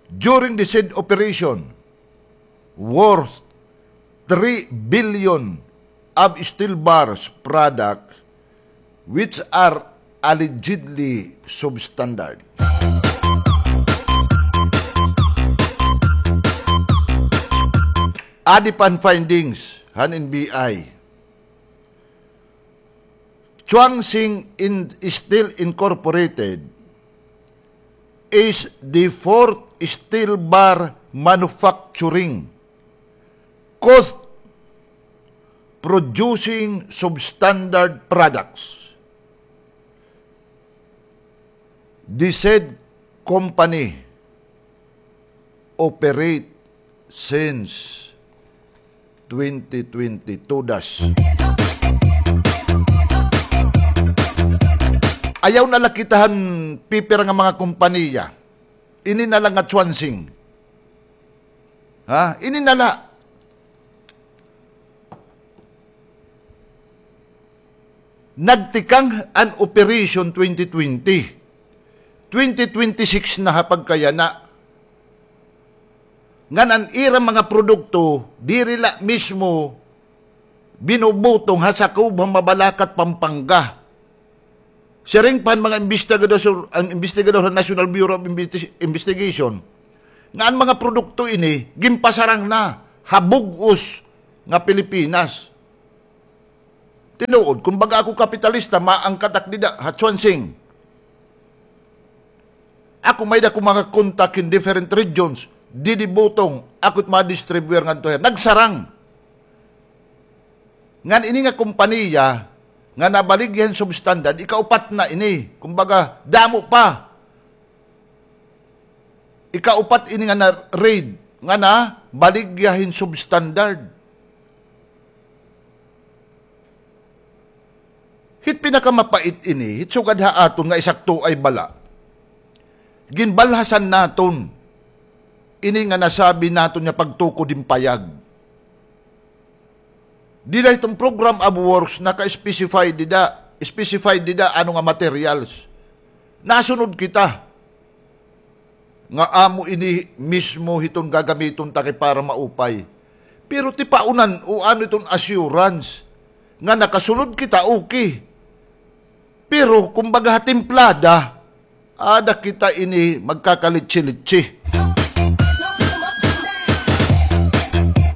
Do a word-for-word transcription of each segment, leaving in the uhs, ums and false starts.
During the said operation, worth three billion of steel bars products which are allegedly substandard. Adi pa an findings han N B I. Chuansing in Steel Incorporated is the fourth steel bar manufacturing cost producing substandard products. The said company operate since twenty twenty-two dash. Ayaw na la kita han pipira nga mga kompanya. Ini na la nga Chuansing. Ha? Ini na la. Nagtikang an Operation twenty twenty. Twenty twenty-six na ha pagkayana. Ngan an ira mga produkto, diri la mismo binubutong ha sakob han Mabalacat, Pampanga. Siring pa han mga imbestigador, an imbestigador han National Bureau of Investi-, Investigation, nga an mga produkto ini, ginpasarang na ha bug-os nga Pilipinas. Tinuod, kon baga ako kapitalista, maangkat ak dida ha Chuansing. Ako may-ada ko mga contact in different regions, didi butong, ako it ma-distribuer ngadto her. Nagsarang. Ngan ini nga kompanya nga nabaligya hin substandard, ikaupat na ini. Kumbaga, damo pa. Ikaupat ini nga na-raid, nga nabaligya hin substandard. Hit pinakamapait ini, hit sugad ha aton nga isakto ay bala. Ginbalhasan naton ini nga nasabi naton nga pagtukod hin payag. Dida hiton program of works, naka-specify dida, specify dida ano nga materials. Nasunod kita nga amo ini mismo hiton gagamiton ta kay para maupay. Pero tipaunan o ano iton assurance nga nakasulod kita, okay. Pero kumbaga ha timplada, ada kita ini magkakalitsi-litsi.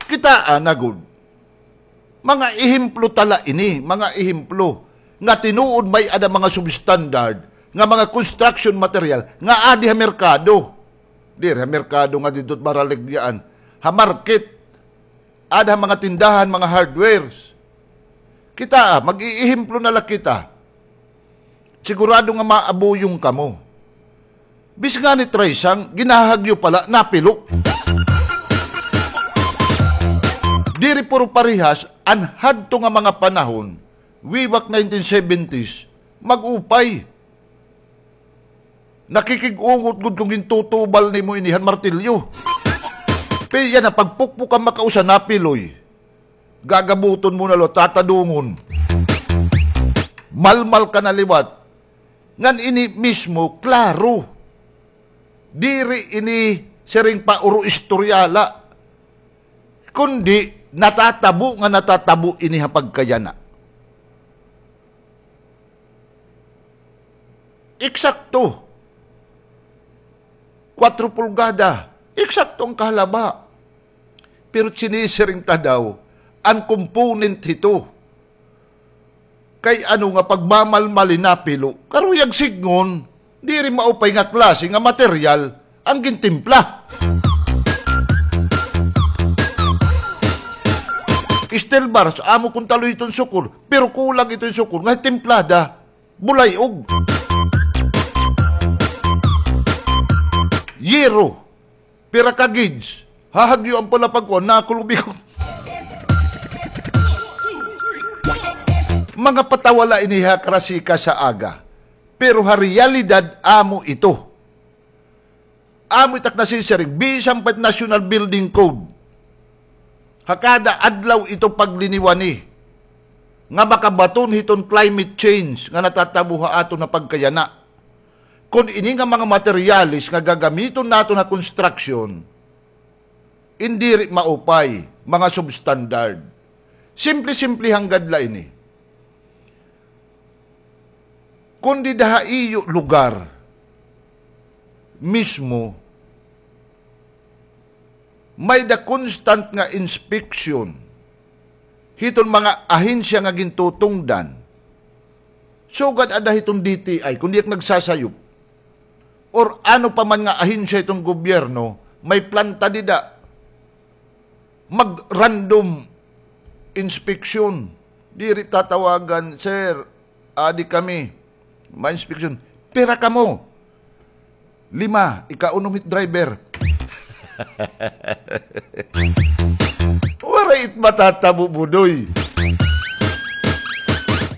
Kitaa na gud. Mga ehemplo ta la ini, mga ehemplo nga tinuod may-ada mga substandard nga mga construction material nga adi ha merkado. Diri ha merkado nga didto it baraligyaan. Ha market, ada ha mga tindahan, mga hardwares. Kitaa, mag-iihemplo na la kita. Sigurado nga maabuyong kamo. Bis ngani traysang, ginahahagyo pa la, napilo. Diri puro parehas, an hadto nga mga panahon, way back nineteen seventies, mag-upay. Nakikig-ungot gud kon gintutubal nimo ini han martilyo. Pero yana, pagpukpok an makausa, napiloy. Gagabuton mo na liwat, tatadungon. Malmal ka na liwat. Ngan ini mismo, klaro. Diri ini siring pa uro istorya la. Kundi natatabo nga natatabo ini ha pagkayana. Eksakto. Kwatro pulgada. Eksakto an kahalaba. Pero sinisiring ta daw, an component hito. Kay ano nga pagmamalmali napilo, karuyag sidngon, diri maupay nga klase nga material an gintimpla. Steel bars, amo kon talo iton sukol, pero kulang iton sukol nga timplada, bulay-og. Yero, pira ka gauge, hahagyoan pa la pagkuan, nakulubikon. Mga patawa la ini ha karasika sa aga, pero ha realidad amo ito. Amo it ak nasisiring, bisan pa it National Building Code, ha kada adlaw ito pagliniwani nga makabaton hiton climate change nga natatabo ha aton ha pagkayana. Kon ini nga mga materyales nga gagamiton naton ha construction, in diri maupay, mga substandard. Simple-simple hanggad la ini. Kon dida ha iyo lugar mismo, may-ada constant nga inspection hiton mga ahensya nga gintutungdan. Sugad ada hiton D T I, kon diak nagsasayop, or ano pa man nga ahensya hiton gobyerno, may planta dida. Mag-random inspection. Diri tatawagan, "Sir, adi kami. Ma-inspection." "Pira kamo?" "Lima, ika unom hit driver." Waray it matatabo, Budoy.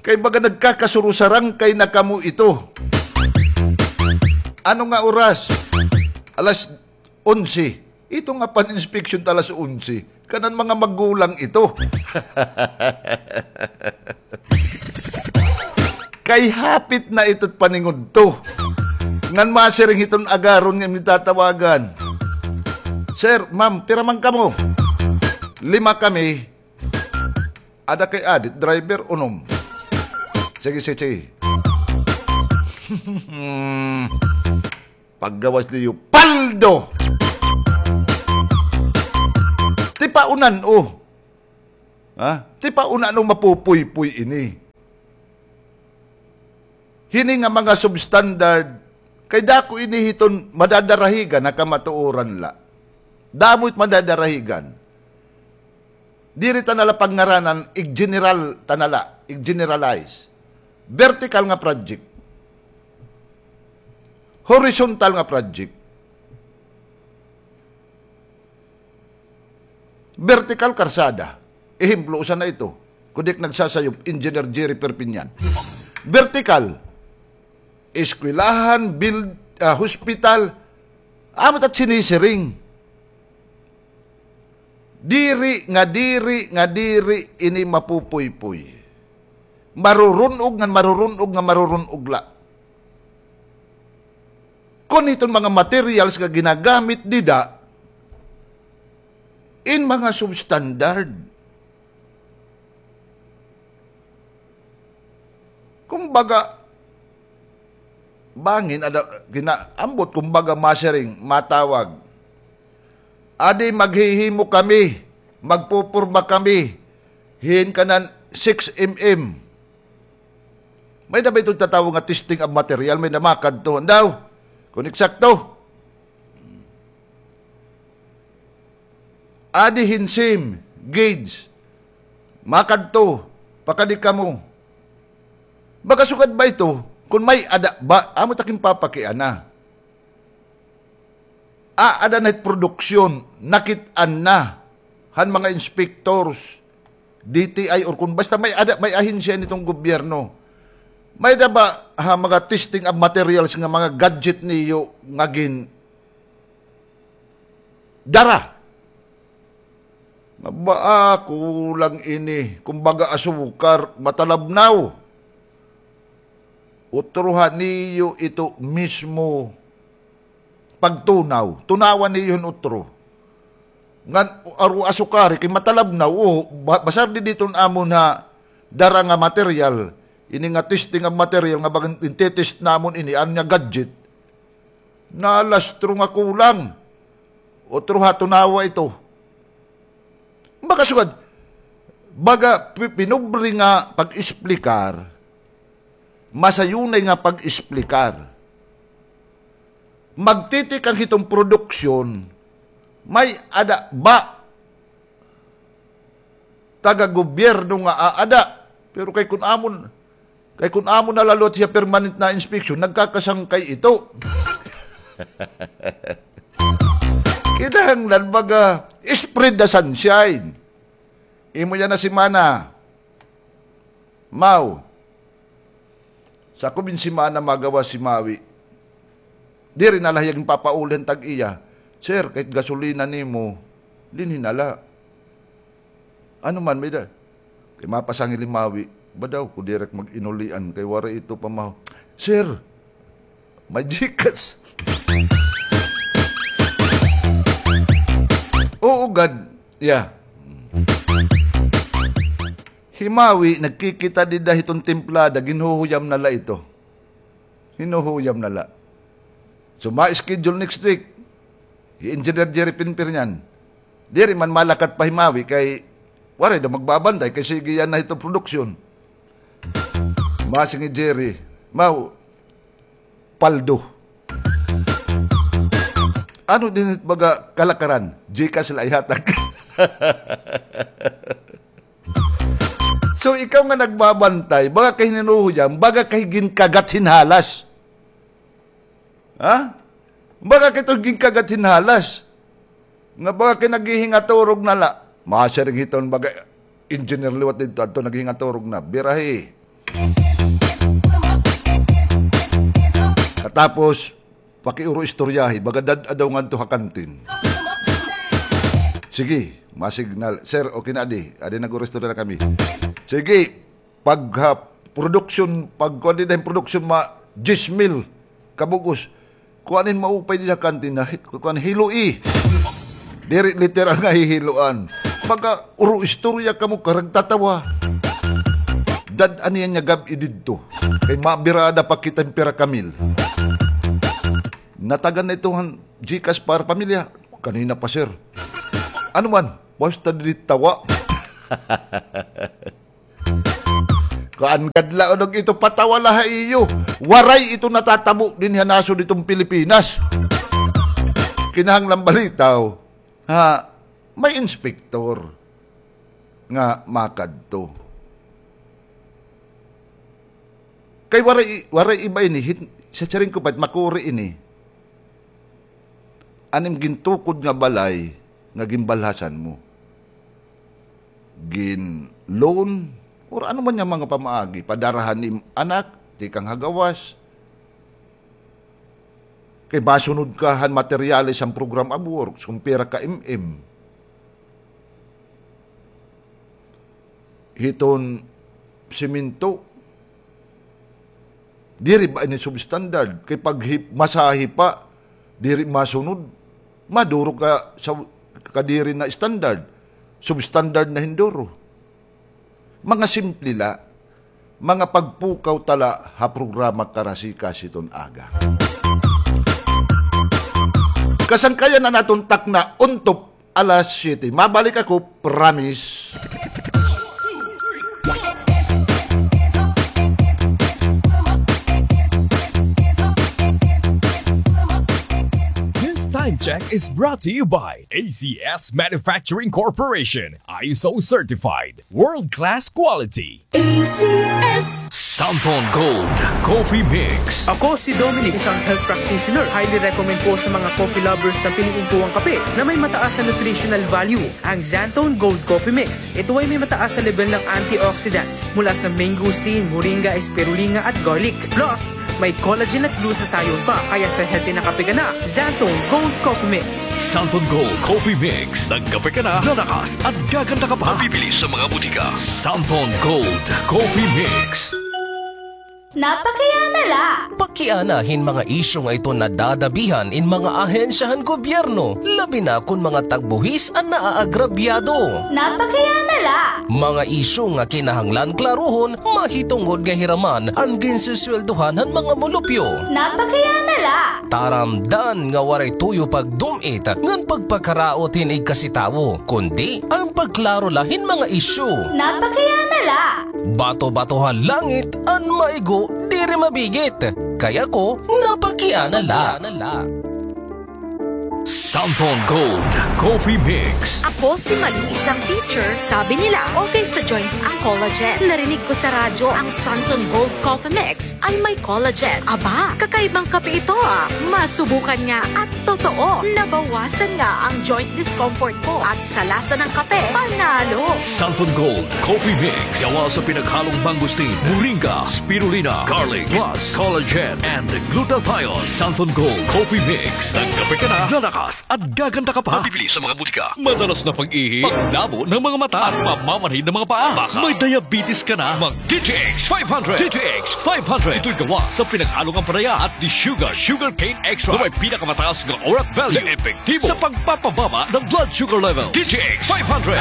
Kay baga nagkakasurusarangkay na kamo ito. Ano nga oras? Alas onse. Ito nga pan-inspection ta alas onse. Kanan mga magulang ito. Kay hapit na ito't paningudto. Ngan masiring hiton agaron nga imo tatawagan. "Sir, ma'am, pira man kamo?" "Lima kami." "Ada kay adi it driver?" "Unom." "Sige, sige, sige." Paggawas niyo, paldo! Tipaunan, oh. Ha? Tipaunan, oh, mapupuypoy ini. Hini nga mga substandard, kay dako ini hiton madadarahigan ha kamatuoran la. Damo it madadarahigan. Diri ta na la pagngaranan, ig-general ta na la, ig-generalize. Vertical nga project. Horizontal nga project. Vertical, karsada. Ehemplo, usa na ito. Kon diak nagsasayop, Engineer Jerry Perpignan. Vertical. Eskwelahan, build, ah, hospital. Amo it sinisiring. Diri nga diri nga diri ini mapupuypoy. Marurun-og ngan marurun-og ngan marurun-og la. Kon hiton mga materials nga ginagamit dida, in mga substandard. Kumbaga, bangin, ada, gina-, ambot, kumbaga, masiring, matawag. Adi, maghihimo kami, magpupurma kami, hin kanan six M M. May-ada ba ito tatawo nga testing of material, may-ada makadto. Andaw, kon eksakto. Adi hin seam, gauge. Makadto, pakadi kamo. Makasugad ba ito? Kon may-ada ba, amo it ak ginpapakiana. Aada na hit produksyon, nakit-an na han mga inspectors, D T I, or kon basta may-ada, may ahensya niton gobyerno. May-ada ba ha mga testing of materials nga mga gadget niyo nga gin-, dara? Nga ba, ah, kulang ini. Kumbaga, asukar, matalabnaw. Utroha niyo ito mismo pagtunaw. Tunawa niyo hin utro. Ngan, aro asukari, kay matalabnaw, o, ba-, basar di diton amon ha dara nga material, ini nga testing of material nga bagan intetest namon ini, an nga gadget. Nalastro nga kulang. Utroha tunawa ito. Makasugad, baga pi-, pinobre nga pag-esplikar, masayunay nga pag-esplikar. Magtitikang hiton produksyon, may-ada ba taga-gobyerno nga aada? Pero kay kun amon, kay kun amon na la liwat hiya permanent na inspeksyon, nagkakasangkay ito. Kinahanglan baga spread the sunshine. Imo yana semana, Maw. Sa ako bin semana magawas hi Mawi. Diri na la hiya ginpapauli han tag-iya. "Sir, kay gasolina nimo, dinhi na la." "Ano man, may-ada?" Kay mapasangil hi Mawi. "Ba daw, kon diri ak mag-inulian, kay waray ito pamaho." "Sir, May GCash. Oo gad. Yeah. Himawi, nagkikita dida hiton timplada, ginhuhuyam na la ito. Hinuhuyam na la. So, ma-schedule next week. Hi Engineer Jerry Pinpir niyan. Diri man malakat pa himawi kay waray daw magbabantay kay sige yana hito production. Masing hi Jerry, maw, paldo. Ano din it baga kalakaran? GCash la ihatag. So, ikaw nga nagbabantay, baga kay hinuhuyam, baga kay ginkagat hin halas. Ha? Baga kay ito ginkagat hin halas. Nga baga kay naghihingaturog na la. Masiring hiton baga engineer liwat didto, adto naghihingaturog na. Birahi. Katapos, pakiuro istoryahi, baga dad-a daw ngadto ha kantin. Sige, ma-signal. Sir, okay na adi. Adi nag-uro istorya na kami. Sige, pag, ha, production, pag kuan dida hin production, ma diyes mil kabug-os. Kuan in maupay dida ha kantin na, hi-, kuan, hiloi. Diri literal nga hihiloan. Baga uro istorya kamo, karag tatawa. Dad-a niyan nga gab-i didto. Kay mabirada pa kita hin pira ka mil. Natagan na ito han GCash para pamilya. Kanina pa, sir. Ano man, basta diri tawa. Kuan gad la, unog ito patawa la ha iyo. Waray ito natatabo dinhi ha nasod hiton Pilipinas. Kinahanglan balitaw. Ha, may inspektor nga makadto. Kay waray, waray iba ini, hit-, sa siring ko pa, makuri ini. An im gintukod nga balay nga ginbalhasan mo. Gin-loan, or ano man nga mga pamaagi, padara han im anak, tikang ha gawas. Kay masunod ka han materyales han program of works, kung pira ka M M. Hiton semento, diri ba ini substandard? Kay pag hip-, masahi pa, diri masunod. Maduro ka sa kadiri na standard. Substandard na hin duro. Mga simple la, mga pagpukaw ta la ha programa Karasikas hiton aga. Kasangkayan an aton takna, untop alas siyete. Mabalik ako, promise. This time check is brought to you by A C S Manufacturing Corporation, I S O certified, world-class quality. A C S. Santon Gold Coffee Mix. Ako si Dominic, isang health practitioner. Highly recommend ko sa mga coffee lovers na piliin ko ang kape na may mataas na nutritional value, ang Santon Gold Coffee Mix. Ito ay may mataas na level ng antioxidants mula sa mangosteen, moringa, spirulina at garlic. Plus, may collagen at glutathione pa, kaya sa healthy na kape ka na, Santon Gold Coffee Mix. Santon Gold Coffee Mix. Nagkape ka na, lalakas at gaganda ka pa. Mabibili sa mga butika. Santon Gold Coffee Mix. Napakiana la. Pakiana hin mga isyu nga iton nadadabihan in mga ahensya han gobyerno, labi na kon mga tagbuhis an naaagrabyado. Napakiana la. Mga isyu nga kinahanglan klaruhon, mahitungod nga hiraman an ginsisweldohan han mga mulupyo. Napakiana la. Taramdan nga waray tuyo pagdum-it ngan pagpakaraot hin igkasi tawo, kundi an pagklaro la hin mga isyu. Napakiana la. Bato-bato ha langit an maigo diri mabigit. Kay ako, napakiana la. Santon Gold Coffee Mix. Ako si Malu, isang teacher. Sabi nila, okay sa joints ang collagen. Narinig ko sa radyo ang Santon Gold Coffee Mix ay may collagen. Aba, kakaibang kape ito, ah. Masubukan nga at totoo, nabawasan nga ang joint discomfort ko at sa lasa ng kape, panalo. Santon Gold Coffee Mix. Gawa sa pinaghalong mangosteen, moringa, spirulina, garlic, plus collagen and glutathione. Santon Gold Coffee Mix. Nagkape ka na, lalakas At gaganda ka pa. Mabibili sa mga butika. Madalas na pag-ihi, paglabo ng mga mata, at mamamanhid ng mga paa. Baka may diabetes ka na. Mag D T X five hundred. D T X five hundred. Ito'y gawa sa pinag-along ampalaya at desugar, sugarcane extract, na may pinakamataas na orat value na epektibo sa pagpapababa ng blood sugar level. D T X five hundred.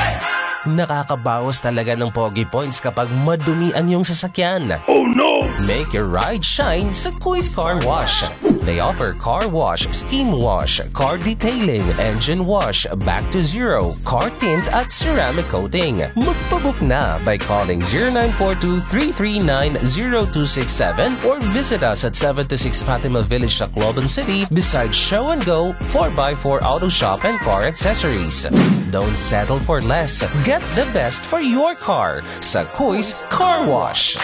Nakakabawas talaga ng pogi points kapag madumi ang iyong sasakyan. Oh no! Make your ride shine sa Kuis Car Wash. They offer car wash, steam wash, car detailing, engine wash, back to zero, car tint at ceramic coating. Magpabook na by calling zero nine four two three three nine zero two six seven or visit us at seventy-six Fatima Village, Tacloban City, beside Show and Go, four by four Auto Shop and Car Accessories. Don't settle for less. Get the best for your car sa Kuis Car Wash.